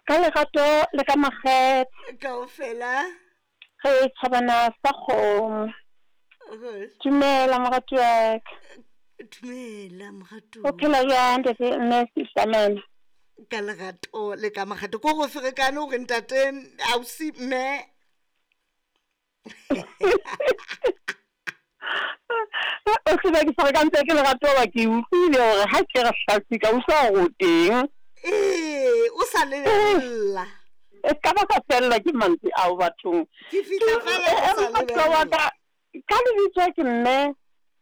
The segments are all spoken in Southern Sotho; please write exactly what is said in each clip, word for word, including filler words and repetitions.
Ka lerato le ka makgethe. Kaofela. Re tjhabana sa kgomo. Dumela morati wa ka. Dumela moratuwa. O phela jwang ntate mme Sister? Ka lerato le ka makgethe. Ko go ferekane gore ntate ausi mme. O tseba ke ferekantse ke lerato ba ke utlwile hore ha ke re hlasi ka utlwa hore o teng. Ee, o sa lebella. E ka ba ka fella ke mantswe ao bathong. Ke fihla fela o sa lebella. Ka lebitso ke mme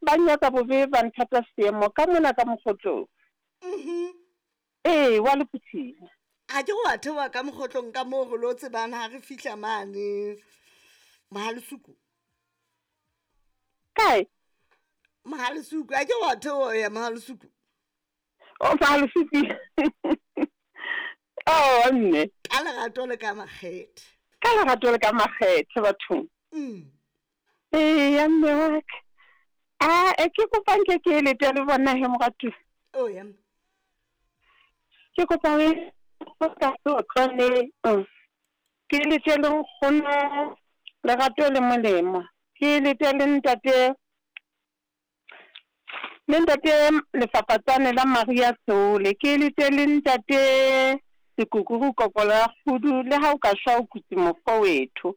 ba nyatsa bobe ba nthata seemo ka mona ka mokgotlong. Mhm. Ee, wa Lephuthing. Ha ke go wa theoha ka mokgotlong ka moo re lo tsebang ha re fihla mane Mohalesuku. Kae? Mohalesuku, ha ke wa theoha ya Mohalesuku. O Mohalesuku. Oh, mme. Ka lerato le ka makgethe. Ka lerato le ka makgethe bathong. Mm. Ee, ya mme wa ka. A e ke kopa nke ke elete le bona he moratuwa. Oh ya. Ke kopa o ka tlotlwane. Ke elete le nkgono lerato le molemo. Ke elete le ntate le ntate lefapatsane la Maria Tsole. Ke elete le ntate Sekukuru kokolo ya kgudu le ha o ka shwa o kutse mofo wethu.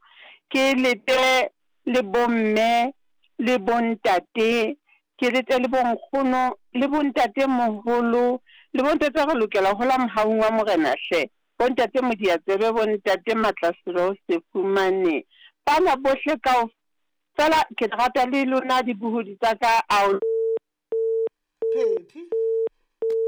Ke elete le bomme le bontate, ke lete le bonkgono le bontate moholo le bontate re lokela ho la mohaung wa morena hle. Bontate Modiatsebe, bontate Matlaselo se fumane. Bana bohle kao fela ke rata le lona dibohodi tsa ka ao. Phephi.